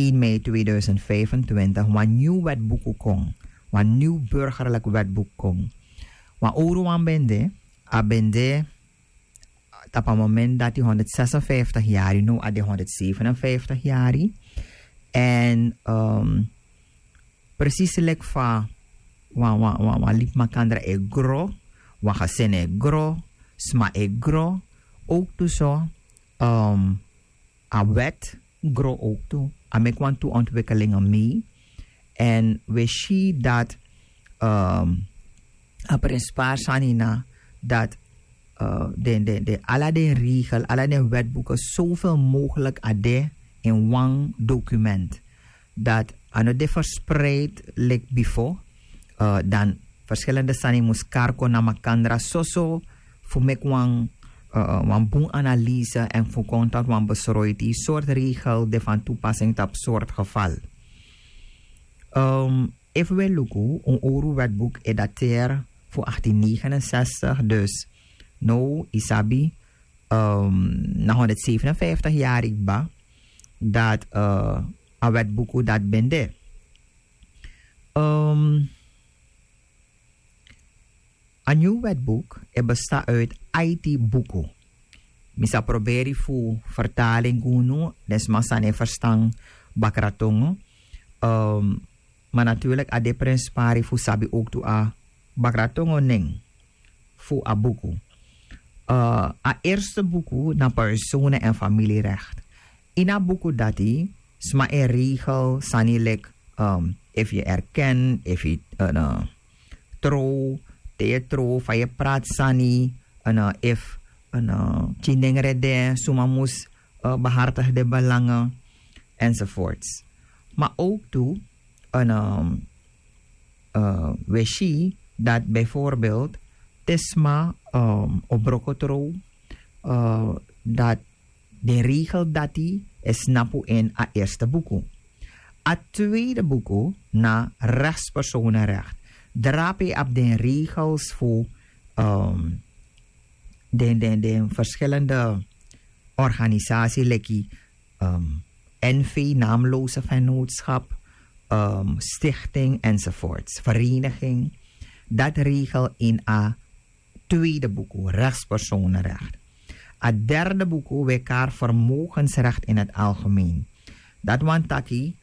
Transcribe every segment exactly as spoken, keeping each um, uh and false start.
één mei tweeduizend vijfentwintig wan nieuw wetbuku kon, wan nieuw burgerlijk wetbuku kon. Wan owru wan ben de, a ben de tapu a moment dati honderdzesenvijftig yari, no, a de honderdzevenenvijftig yari. En um, precies leki fa wan, wan, wan, wan libi makandra e gro, wan gesin e gro, sma e gro, ook tu so um, a wet gro ook tu. A meki wan tu ontwikkelingen mee. En we si dat um, a prenspari sani na dat uh, den, den, den, ala den regel, ala den wetboeken zoveel mogelijk a de in wan document. Dat a no de verspreid lik bifo, uh, dan verschillende sani mus karko na makandra soso fu meki wan, uh, wan bun analyse en fu kon tot wan besroiti soort regel de van toepassing tap soort geval. Um, efu we luku un owru wetboek e dateer fu achttien negenenzestig, dus no, isabi, um, na honderdzevenenvijftig yari kba dat uh, a wetbuku dat ben de. Um, a nieuw wetboek e besta uit aiti buku. Mi sa proberi fu vertaling gi unu, den sma san e verstan Bakratongo. Um, maar natuurlijk a de prenspari fu sabi ook tu a Bakratongo nen fu a buku. Uh, a eerste buku na persone en familierecht. In a buku dati sma e regel sani lik, um, efu yu erken, efu yu uh, tro, te yu tro, fa yu prati sani, uh, efu uh, kinengre de, suma mus uh, behartig de belangen, enzovoorts. Maar ook tu, een, um, uh, we si dat bijvoorbeeld te sma um, o broko tro, uh, dat den regel dati e snapu in a eerste buku. A tweede buku na rechtspersonenrecht. Drape ap den regels fu um, den, den, den verschillende organisatie leki um, N V, naamloze vennootschap, um, stichting enzovoorts, vereniging. Dat regel in a tweede buku, rechtspersonenrecht. A derde buku, wekaar vermogensrecht in het algemeen. Dat want taki,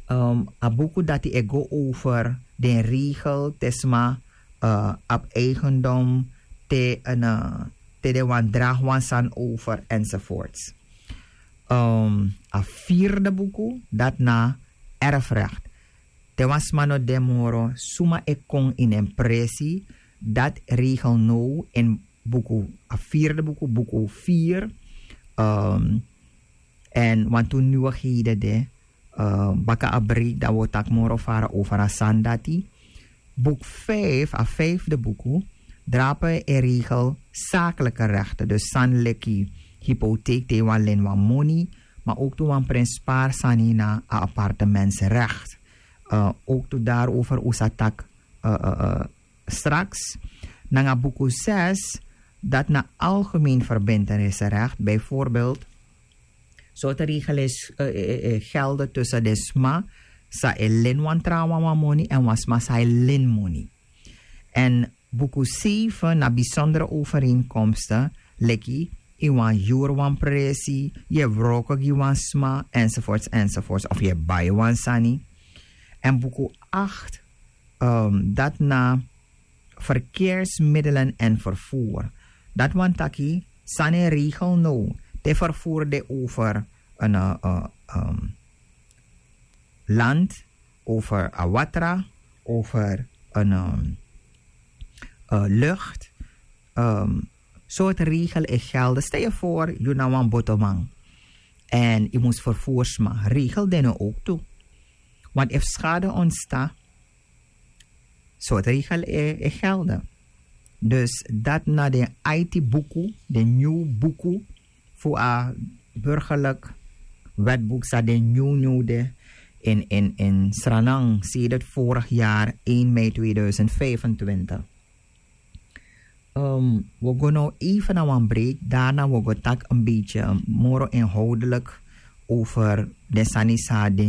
um, a buku dati e go over den regel te sma uh, op eigendom te, uh, te de wan draag wan san over enzovoorts. Um, a vierde buku, dat na erfrecht. Te wan sma no de moro, suma e kon in en presi, dat regel no in buku, a vierde buku, buku vier. Um, en want tu nieuwigheden de, uh, baka a break dat we tak moro fara over a san dati. Boek vijf, a vijfde buku, drape e regel zakelijke rechten. Dus san leki hypotheek te wan len wan moni, maar ook tu wan prenspari sani na a appartementsrecht. Uh, ook tu daarover usa tak uh, uh, uh, straks. Nanga buku zes, dat na algemeen verbintenissenrecht, bijvoorbeeld, soort regel is uh, uh, uh, gelden tussen de sma sa e len wan trawan wan moni en wan sma sa e len moni. En buku zeven na bijzondere overeenkomsten, leki in wan jur wan presi, je wroko gi wan sma, enzovoorts, enzovoorts, of je bai wan sani. En buku acht, um, dat na verkeersmiddelen en vervoer. Dat want taki sani regel no te vervoer de over een uh, um, land, over a watra, over een um, uh, lucht. Um, soort regel e gelden. Stel je voor, je na wan botoman. En je moest vervoersma. Regel den ook toe. Want if schade ontstaat, soort regel e, e gelden. Dus dat na de aiti buku, de nieuw buku, voor a burgerlijk wetboek sa de nieuw nieuw de in, in, in Sranang, sedert vorig jaar één mei tweeduizend vijfentwintig. Um, we gaan nou even naar een break. Daarna we gaan tak een beetje moro inhoudelijk over de sanisa de